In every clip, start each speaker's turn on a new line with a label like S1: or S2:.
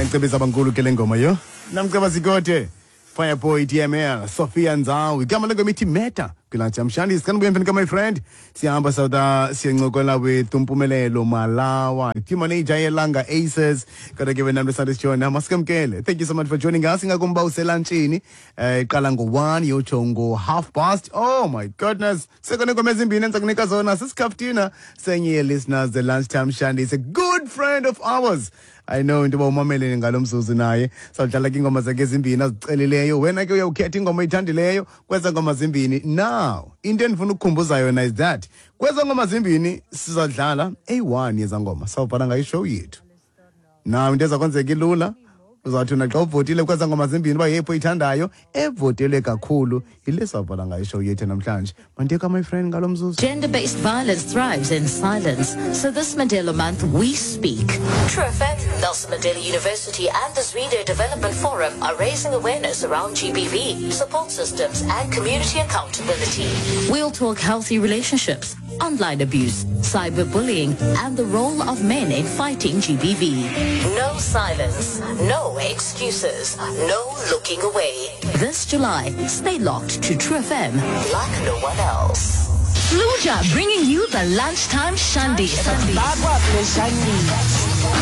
S1: Yandicebisa abankulu ke le ngoma yo. Namceba Zikode, Fireboy DML, Sophia Nzawu. Igama lengoma ithi Meta. Kwilatsha Mshandi, sikhani emveni ka my friend. Siyahamba sawuda siyancokola with Mpumelelo Malawa, team manager yeLanga Aces. Kodwa ke wena mntu sijona, masikamkele. Thank you so much for joining us. Ingakumba uselantshini. Iqala ngo-1 yotsho ngo-half past. Oh my goodness. Sekho neengoma ezimbini endiza kunika zona sisikhaftina senye ye-listeners the Lunchtime Shandy is a good friend of ours. I know into yoba umamele ngalo mzuzu naye. Sawudlala ke iingoma zakhe ezimbini azicelileyo. Wena ke uyawukhetha ingoma oyithandileyo kweza ngoma zimbini. Now, into endifuna ukukhumbuza yona is that kweza ngoma zimbini sizadlala eyi-1 yeza ngoma. Sawubhala ngayo ishow yethu. Now into eza kwenzeka ilula. Uzawuthi naxa uvotile kweza ngoma zimbini uba yeyiphi oyithandayo, evotele kakhulu yile sawubhala ngayo ishow yethu namhlanje. Mandiyeka my friend ngalo mzuzu.
S2: Gender-based violence thrives in silence. So this Mandela Month, we speak. True FM, Nelson Mandela University and the Zwide Development Forum are raising awareness around GBV, support systems and community accountability. We'll talk healthy relationships, online abuse, cyberbullying and the role of men in fighting GBV. No silence, no excuses, no looking away. This July, stay locked to True FM like no one else. Fluja bringing you the Lunchtime Shandies.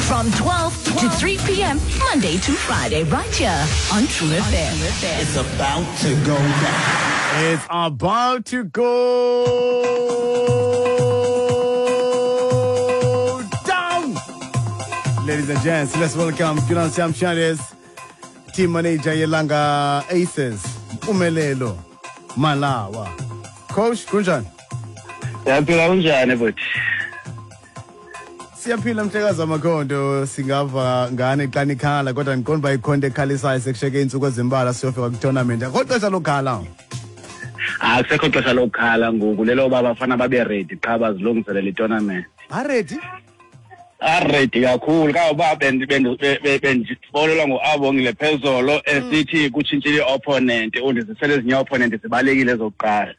S2: From 12 to 3 p.m., Monday to Friday, right here on True FM.
S3: It's about to go down.
S1: It's about to go down. Ladies and gents, let's welcome Julian Shandes, team manager Yelanga Aces, Mpumelelo Malawa. Coach, kunjani?
S4: Siyaphila, kunjani bhuti?
S1: Siyaphila mhlekazi wamakhondo, singava ngane xa nikhala kodwa ndiqonda uba ikhonto ekhalisayo sekusheke iintsuku ezimbalwa siyofika kwitournament. Akho xesha lokhala.
S4: Akusekho xesha lokukhala ngoku, leloba abafana babe ready qha bazilungiselela itournament.
S1: Ba-ready?
S4: Aredi kakhulu kangoba bendifonelwa nguAbongile phezolo esithi kutshintshile i-opponent, undizisele ezinye opponent zibalekile ezokuqala.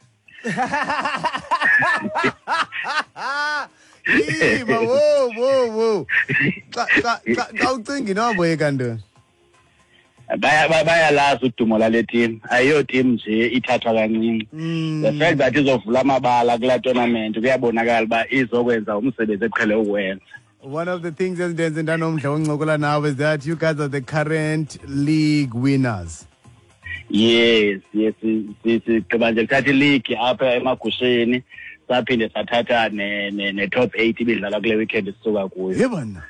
S1: Yima, wo wo wo. Xa xa xa xa ucinga inoboyeka ntoni?
S4: Bayalazi udumo lale team, ayiyo team nje ithathwa kancinci. The fact that izovula amabala kulaa tournament kuyabonakala uba izokwenza umsebenzi eqhele ukuwenza.
S1: One of the things ezindenze ndanomdla woncokola nawe is that you guys are the current league winners.
S4: Yes, sigqiba nje kuthatha ileague apha emagusheni, saphinde sathatha ne-top 8 ibidlalwa kule weekend sisuka kuyo.
S1: Ye bana.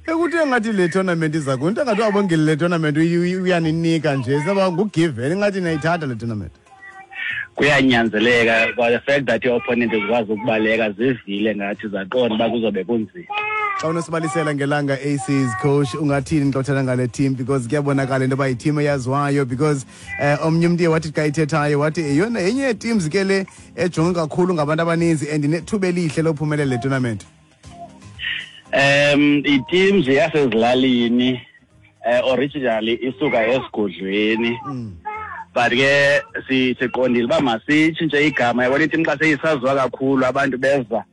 S1: Ekuthe ngathi le tournament iza kunto engathi Abongile le tournament uyaninika nje saba ngugiven ingathi niyayithatha le tournament.
S4: Kuyanyanzeleka kwa the fact that i-opponent zikwazi ukubaleka zivile ngathi zaqonda uba kuzobe kunzima.
S1: Xa unosibalisela ngeLanga Aces, coach, ungathini xa uthetha ngale team, because kuyabonakala into yoba yiteam eyaziwayo, because omnye umntu uye wathi xa ithethayo wathi yeyona yenye yeeteams ke le ejonge kakhulu ngabantu abaninzi and inethuba elihle lophumelela le tournament.
S4: Iteam nje yasezilalini, originally isuka esigodlweni. But ke siqondile uba masitshintshe igama, yabona iteam xa seyisaziwa kakhulu abantu beza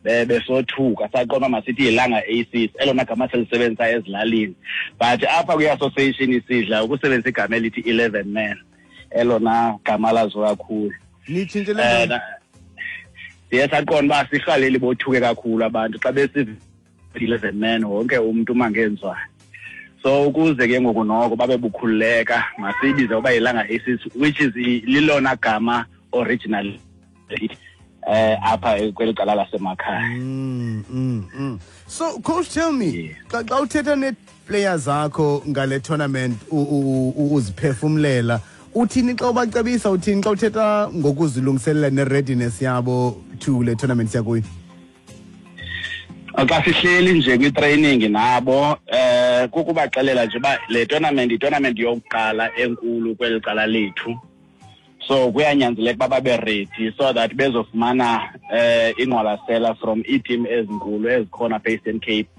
S4: besothuka, saqonda uba masithi yiLanga Aces, elona gama selisebenzisa ezilalini. But apha kwi-association isidla ukusebenzisa igama elithi 11 man, elona gama laziwa kakhulu.
S1: Nitshintshile ntoni?
S4: Siye saqonda uba sirhaleli bothuke kakhulu abantu xa besiva 11 man, wonke umntu uma ngenzwayo. So ukuze ke ngoku noko babe bukhululeka, masiyibize uba yiLanga Aces, which is lilona gama original apha kweli cala lasemakhaya.
S1: So coach, tell me, xa uthetha nee-players zakho ngale tournament, uziphefumlela uthini xa ubacebisa, uthini xa uthetha ngokuzilungiselela ne-readiness yabo to le tournament siyakuyo?
S4: Xa sihleli nje kwi-training nabo, kukubaxelela nje uba le tournament yi-tournament yokuqala enkulu kweli cala lethu, so kuyanyanzeleka uba babe ready so that bezofumana ingqwalasela from iiteam ezinkulu ezikhona apha e-Eastern Cape.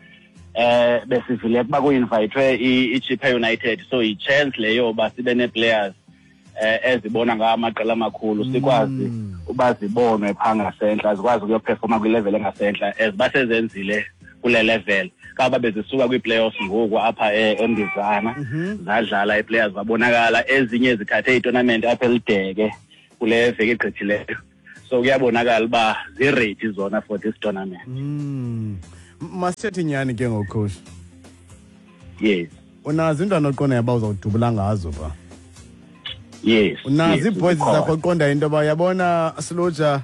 S4: Besivile ukuba ku-invitwe iChippa United, so yi-chance leyo uba sibe nee-players ezibona ngawo amaqela amakhulu, sikwazi uba zibonwe phaa ngasentla, zikwazi ukuyoperforma kwilevel engasentla as basezenzile. kule level. Kaba bezisuka kwi-playoffs ngoku apha eMbizana, zadlala ii-players zabonakala, ezinye zithathe itournament apha eLideke kule veki egqithileyo. So kuyabonakala uba zi-ready zona for this tournament.
S1: Masithethe nyani ke ngoku, coach.
S4: Yes.
S1: Unazo iintwana oqondayo uba uzawudubula ngazo pha?
S4: Yes.
S1: Unazo
S4: Yes,
S1: ii-boys
S4: zikhona.
S1: zakho oqondayo into yoba uyabona Siluja,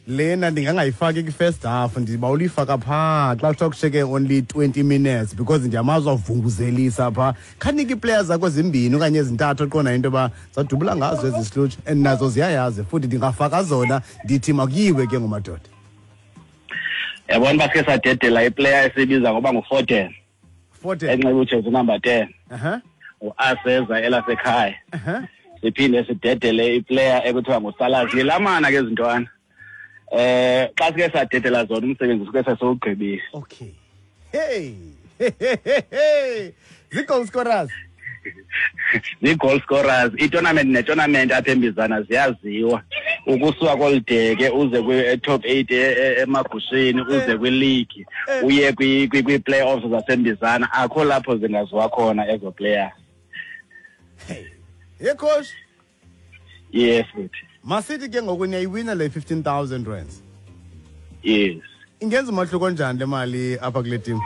S1: lena ndingangayifaki kwi-first half, ndiba ulifaka phaa xa kuthiwa kushiyeke only 20 minutes because ndiyamazi wavunguzelisa phaa. Khanike ii-players zakho zimbini okanye ezintathu oqondayo into yoba zadubula ngazo ezi Siluja, and nazo ziyayazi futhi ndingafaka zona ndithi makuyiwe ke ngomadoda.
S4: Yabona uba sike sadedela iplayer esiyibiza ngoba nguFoden.
S1: Foden.
S4: Enxiba ujezi number 10. Uaseza elasekhaya. Siphinde sidedele iplayer ekuthiwa nguSalas. Yilamana ke ezintwana. Xa sike sadedela zona umsebenzi suke sesiwugqibile.
S1: Okay. Hey. Hey. Zii-goal scorers.
S4: Zii-goal scorers. I-tournament ne-tournament apha eMbizana ziyaziwa. Ukusuka koluDeke uze kwi-top 8 emagusheni, uze kwi-league, uye kwi-playoffs zaseMbizana, akho lapho zingaziwa khona ezo players.
S1: Hey. Hey coach.
S4: Yes, futhi.
S1: Masithi ke ngoku niyayiwina le 15,000 rands.
S4: Yes.
S1: Ingenza umahluko njani le mali apha kule team?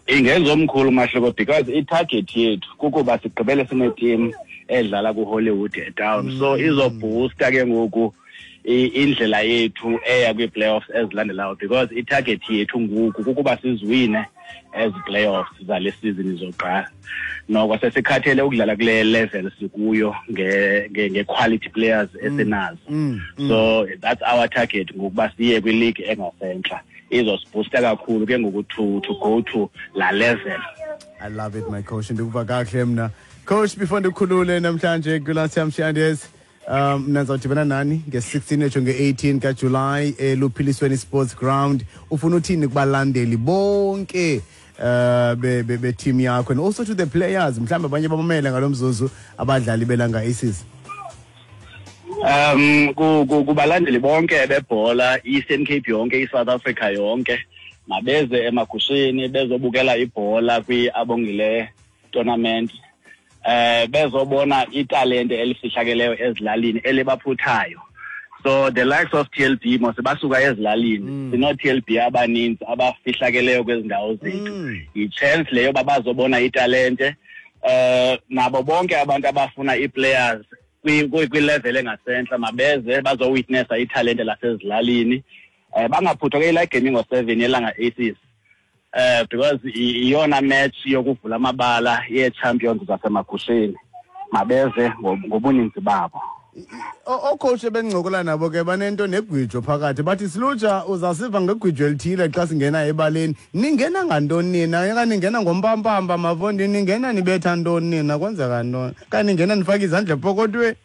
S4: Ingenza omkhulu umahluko because i-target yethu kukuba sigqibele sine-team edlala ku-Hollywood eTown. So izoboosta ke ngoku indlela yethu eya kwii-playoffs ezilandelayo because i-target yethu ngoku kukuba siziwine ezi playoffs zale season izoqala. Noko sesikhathele ukudlala kule level sikuyo nge-quality players esinazo. So that's our target ngokuba siye kwi-league engasentla. Izosiboosta kakhulu ke ngoku to go to la level.
S1: I love it, my coach. Ndikuva kakuhle mna. Coach, before ndikhulule namhlanje kwi-Lunchtime Shandies, mna ndizawudibana nani nge-16 etsho nge-18 kaJuly eLuphilisweni Sports Ground. Ufuna uthini kubalandeli bonke be-team yakho and also to the players, mhlawumbi abanye bamamele ngalo mzuzu abadlali beLanga Aces?
S4: Kubalandeli bonke bebhola, Eastern Cape yonke, iSouth Africa yonke, mabeze emagusheni bezobukela ibhola kwi-Abongile tournament. Bezobona italente elifihlakeleyo ezilalini elibaphuthayo. So the likes of TLB mos basuka ezilalini. Sino TLB abaninzi abafihlakeleyo kwezi ndawo zethu. Yi-chance leyo babazobona italente. Nabo bonke abantu abafuna ii-players kwi-level engasentla mabeze bazowitnessa italente lasezilalini. Bangaphuthwa ke ila game ngo-7 yeLanga Aces. Because iyona match yokuvula amabala ye-champions zasemagusheni. Mabeze ngobuninzi babo.
S1: Ocoach ebencokola nabo ke banento negwijo phakathi, bathi Siluja uzasiva ngegwijo elithile xa singena ebaleni. Ningena ngantoni nina? Okanye ningena ngompampampa mavondi, ningena nibetha ntoni nina? Kwenzeka ntoni? Okanye ningena nifake izandla epokothweni?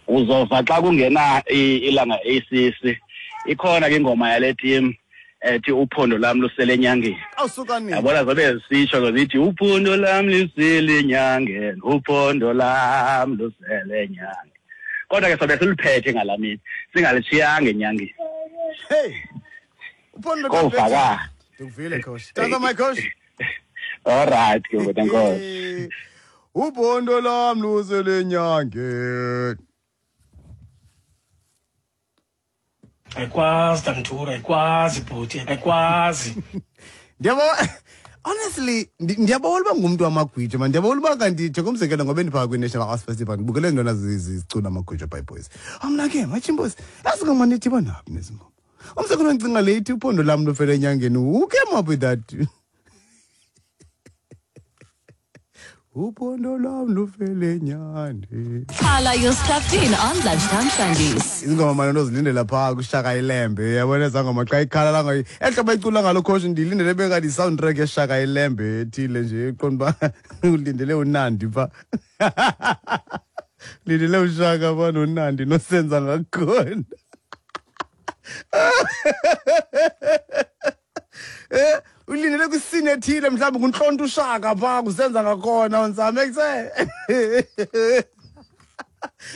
S4: Uzova xa kungena iLanga Aces, ikhona ke ingoma yale team ethi uphondo lam lusele enyangeni.
S1: Awusuka nini?
S4: Yabona zobe zisitsho ke zithi uphondo lam lusele enyangeni, uphondo lam lusele enyangeni. Kodwa ke sobe siluphethe ngalaa mini, singalishiyanga enyangeni.
S1: Hey. Uphondo
S4: Kovakala.
S1: Ndikuvile, coach. Tata my coach.
S4: All right, ke ngoku enkosi.
S1: Uphondo lam lusele enyangeni.
S5: Ayikwazi Damthura, ayikwazi bhuti, ayikwazi.
S1: Ndiyabo, honestly, ndiyabona uba ngumntu wamagwijo, man. Ndiyabona uba kanti nje kumzekelo ngoba ndiphaa kwi-National Arts Festival, ndibukele ntona zicula amagwijo by boys. Mna ke, Machimbos, yazi ngoma nithi banaphi nezi ngoma? Umzekelo ndicinga le ithi uphondo lam lufele enyangeni. Who came up with that? Uphondo lwam lufele enyangeni.
S2: Khala, you're strapped in on Lunchtime Shandies.
S1: Izingoma manje ndozilindela phaa kuShaka Ilembe. Uyabona ezaa ngoma xa ikhala la ngayo. Ehlobo icula ngalo coach ndilindele bengathi i-soundtrack yeShaka Ilembe ethile nje, uqonda uba ulindele uNandi phaa. Lindele uShaka phaa noNandi nosenza ngakhona. Ulindele kwisini ethile mhlawumbi kuntlonta uShaka phaa kusenza ngakhona unzame kuse.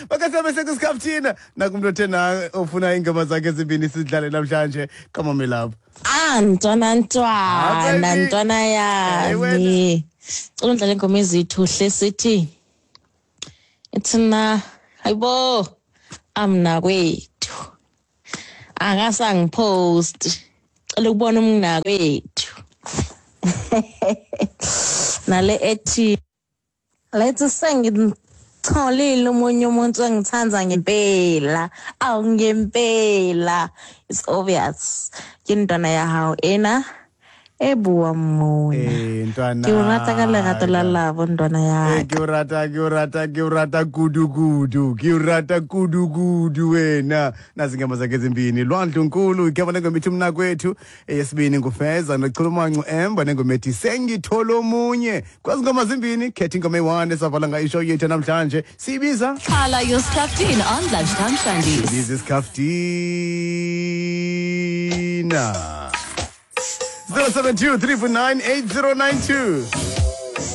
S1: Bakasabe sekusikhafuthina nakumntu othe na ofuna iingoma zakhe ezimbini sidlale namhlanje. Come on, my love.
S6: Ah, ntwana
S1: Ah,
S6: ntwana
S1: baby.
S6: ntwana
S1: Hey, wena.
S6: yami. Cela undlale ingoma ezithu hle sithi. Ithina hayibo amna kwethu. Akasangipost. Cela ukubona umna kwethu. Nale ethi let's sengitholile omunye umuntu engithanda ngempela awu ngempela, it's obvious ke ntwana ya hao ena e buang mona.
S1: Eh, ntwana.
S6: Ke o rata ka lerato la labo ntwana ya
S1: Eh, ke o rata, ke o rata, ke o rata kudu kudu, ke o rata kudu kudu wena. Nazi ingoma zakhe ezimbini, Lwandlunkulu igama lengoma ithi Mnakwethu, eyesibini nguFeza noChulumanco Emba nengoma ethi Sengithola Omunye. Kwazi ngoma zimbini, khetha ingoma eyi-1 esavala ngayo ishow yethu namhlanje. Siyibiza
S2: Carla, your Skhaftin on Lunchtime Shandies.
S1: Biza isikhafutina. 072 349 8092.